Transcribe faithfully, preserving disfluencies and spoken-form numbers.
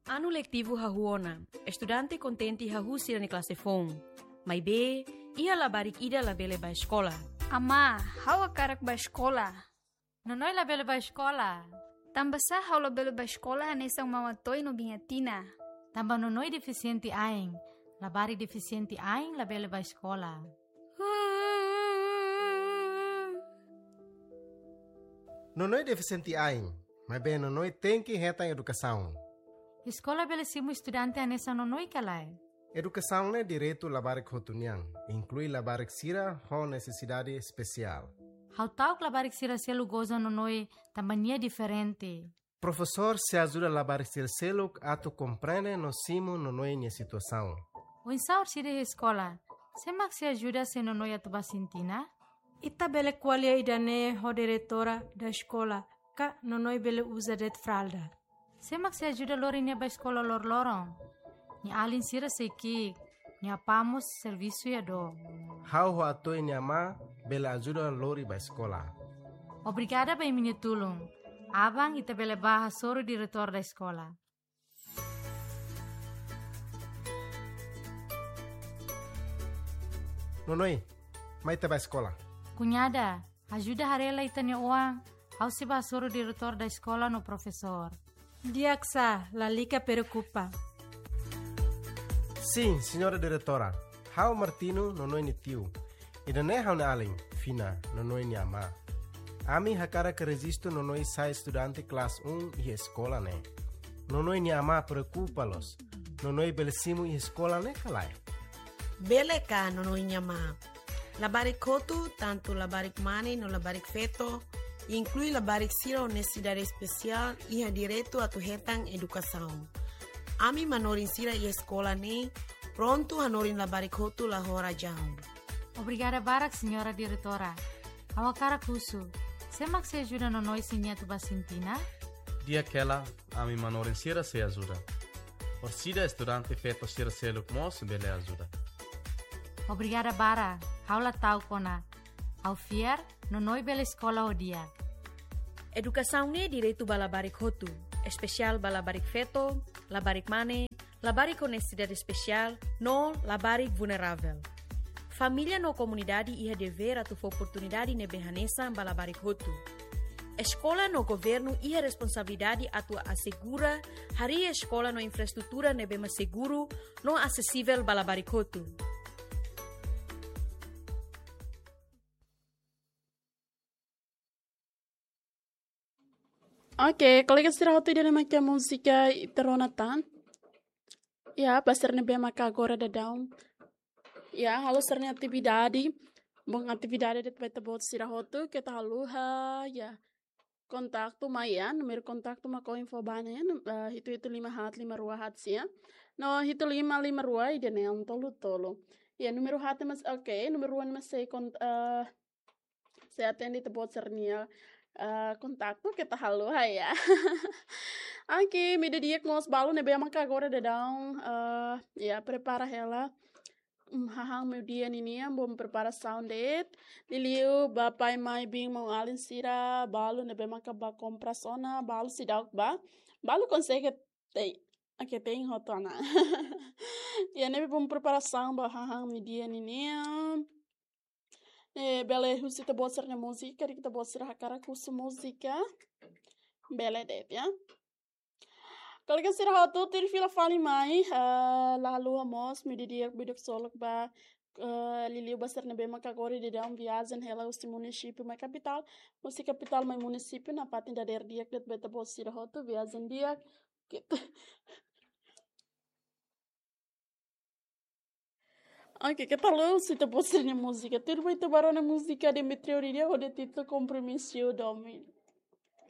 Anu letivu hahú ona, estudante kontente hahú sira-nia klase foun. Maibé, iha labarik ida labele bá eskola. Amá, ha'u hakarak bá eskola. Nonoi labele bá eskola. Tanbasá ha'u labele bá eskola hanesan Mama Toi no Biña Tina? Tanba Nonoi defisiente ain. Labarik defisiente ain labele bá eskola. Nonoi defisiente ain, maibé Nonoi tenke hetan edukasaun. Eskola bele simu estudante hanesan Nonoi ka lae? Edukasaun ne'e direitu labarik hotu nian, inklui labarik sira ho nesesidade espesiál. Ha'u ta'uk labarik sira seluk goza Nonoi tanba nia diferente. Profesór sei ajuda labarik sira seluk atu komprende no simu Nonoi nia situasaun. Oinsá orsida iha eskola? Sé mak sei ajuda se Nonoi atu bá sintina? Ita bele ko'alia ida-ne'e ho diretora da eskola, ka Nonoi bele uza de'it fralda. Sé mak sei ajuda lori nia bá eskola loroloron? Nia alin sira sei ki'ik, nia apá mós servisu iha dook. Ha'u ho Atoi nia amá bele ajuda lori bá eskola. Obrigada ba imi-nia tulun. Aban ita bele bá hasoru diretór da eskola. Nonoi, mai ita bá eskola. Kuñada, ajuda haree lai ita-nia oan, ha'u sei bá hasoru diretór da eskola no profesór. Di'ak sá, lalika preokupa. Sin, señora diretora. Ha'u Martino, Nonoi nia tiu. Ida-ne'e ha'u-nia alin, Fina, Nonoi nia amá. Ami hakarak rejistu Nonoi sai estudante klase um iha eskola ne'e. Nonoi nia amá preokupa loos. Nonoi bele simu iha eskola ne'e ka lae? Bele ka, Nonoi nia amá. Labarik hotu, tantu labarik mane no labarik feto, inklui labarik sira ho nesesidade espesiál, iha direitu atu hetan edukasaun. Ami manorin sira iha eskola ne'e prontu hanorin labarik hotu la ho razaun. Obrigada barak, señora diretora. Ha'u hakarak husu, sé mak sei ajuda Nonoi se nia atu bá sintina? Di'ak hela, ami manorin sira sei ajuda. Orsida estudante feto sira seluk mós bele ajuda. Obrigada barak, ha'u la ta'uk ona. Ha'u fiar, Nonoi bele eskola ho di'ak. Edukasaun ne'e direitu ba labarik hotu, espesiál ba labarik feto, labarik mane, labarik ho nesesidade espesiál, no labarik vulneravel. Família no komunidade iha devér atu fó oportunidade ne'ebé hanesan ba labarik hotu. Eskola no governu iha responsabilidade atu asegura harii eskola no infraestrutura ne'ebé mak seguru no asesivel ba labarik hotu. Oke, kolega sira hotu, ida-ne'e mak múzika Ita Rona Tan. Ya, ba sira ne'ebé maka agora daudaun, ya, halo sira-nia atividade. Bom, atividade de'it ba ita-boot sira hotu, keta haluha, ya. Kontaktu mai, ya, númeru kontaktu mak ha'u info ba ne'e, num-, eh, hitu hitu lima haat lima rua haat sia. No hitu lima lima rua ida-ne'e tolu tolu. Ya, númeru haat ne'e mak, oke, númeru rua ne'e mak sei kon-, eh, sei atende ita-boot sira-nia, eh, kontaktu, keta haluha, ya. Oke, imi di'ak mós, balu ne'ebé maka agora daudaun, eh, ya, prepara hela. Mm, hahán meiudia ninian, bom, preparasaun de'it. Liuliu ba pai, mai, biin, maun-alin sira, balu ne'ebé maka bá kompras ona, balu seidauk bá. Balu konsege tei. Oke, tein hotu ona. Ya, ne'ebé bom preparasaun ba hahán meiudia ninian. Eh, bele husu ita-boot sira-nia múzika, karik ita-boot sira hakarak husu múzika. Bele de'it, ya. Kolega sira hotu, tuir fila fali mai, eh, la haluha mós, imi di'ak, imi di'ak ksolok ba, eh, liuliu ba sira ne'ebé maka agora daudaun viajen hela husi munisípiu mai kapitál, husi kapitál mai munisípiu, nafatin dadeer di'ak de'it ba ita-boot sira hotu, viajen di'ak, gitu. Oke, keta haluha husu ita-boot sira-nia múzika. Tuir ba ita bá rona múzika Demetrio Rida hodi títulu Compromisso Domingo.